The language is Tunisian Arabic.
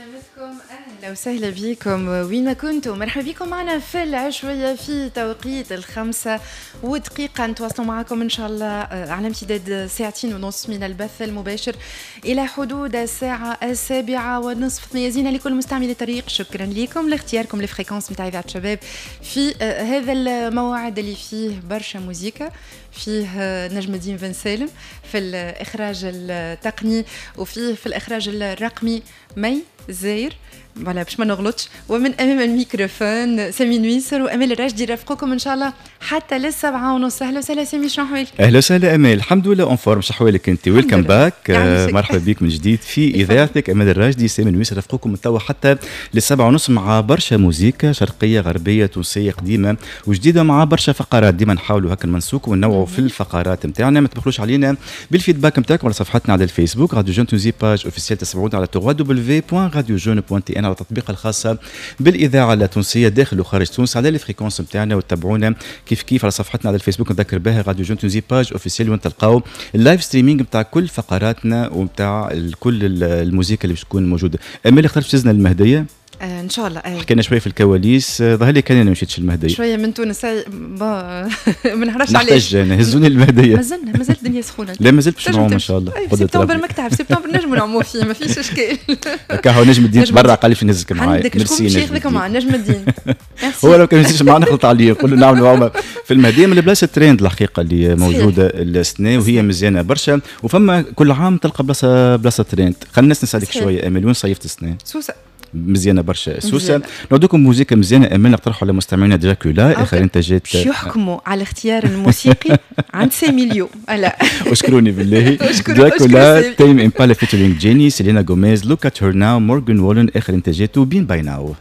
عسلامتكم، اهلا وسهلا بكم وين ما كنتم. مرحبا بكم معنا في العشوية في توقيت 5:01. نتواصلوا معكم ان شاء الله على امتداد ساعتين ونص من البث المباشر الى حدود الساعة 7:30. ثنية زينة لكل مستعملي الطريق. شكرا لكم لاختياركم ال fréquence نتاع اذاعة شباب في هذا الموعد اللي فيه برشا موزيكا، فيه نجم الدين بن سالم في الاخراج التقني، وفيه في الاخراج الرقمي مي زاير، voilà باش ما نغلطش، ومن امام الميكروفون سامي نويسر وامال الراشدي يرافقوكم ان شاء الله حتى لل7:30. اهلا وسهلا سامي، شنو احوالك؟ اهلا وسهلا امال، الحمد لله en forme. شو احوالك انت؟ welcome back، مرحبا بك من جديد في اذاعتك. امال الراشدي، سامي نويسر رافقوكم من توا حتى لل7:30 مع برشا موزيكا شرقيه، غربيه، تونسيه، قديمة وجديده، مع برشا فقرات. ديما نحاولوا هكا نمنسوك ونوعوا في الفقرات نتاعنا. ما تبخلوش علينا بال feedback نتاعكم على صفحتنا على الفيسبوك راديو Jeunes Tunisie page officielle، تسمعونا على www.radiojeunes.tn، على التطبيق الخاصة بالإذاعة التونسية داخل وخارج تونس على les fréquences نتاعنا، وتتابعونا كيف كيف على صفحتنا على الفيسبوك، نذكر بها راديو Jeunes Tunisie page officielle، وين تلقاو ال live streaming نتاع كل فقراتنا ونتاع كل الموسيقى اللي باش تكون موجودة. أمال، اخترت تهزنا المهدية؟ آه ان شاء الله. حكينا شوية في الكواليس، ظهر لي كان انا ما مشيتش المهديه. شوية من تونس، ما نعرفش علاش. نحتاج هزوني المهديه. مازلنا، مازالت الدنيا سخونه. لا، مازلت باش نعوم ان شاء الله. سبتمبر، ماك تعرف سبتمبر نجموا نعوموا فيه، ما فيش اشكال. هكا هو نجم الدين تبرع، قال لي في نهزك معايا. عندك شكون باش ياخذك مع نجم الدين؟ هو لو كان يزيدش معنا نخلط عليه، نقول له نعملوا عومه في المهديه، من البلاصة ترند الحقيقة اللي موجودة السنة وهي مزيانه برشا. وفما كل عام تلقى بلاصة بلاصة ترند. خلينا نسالك شوية امل، وين صيفت السنة؟ سوسه. مزيانه برشا سوسه. نعطيكم موزيكا مزيانه امال، نقترحوا على مستمعينا دراكولا، اخر انتاجات. باش يحكموا على الاختيار الموسيقي عند سامي اليوم، لا. اشكروني بالله. دراكولا، Tame Impala featuring Jennie، سيلينا غوميز، Look at Her Now، مورغان وولن، اخر انتاجاته Been By Now.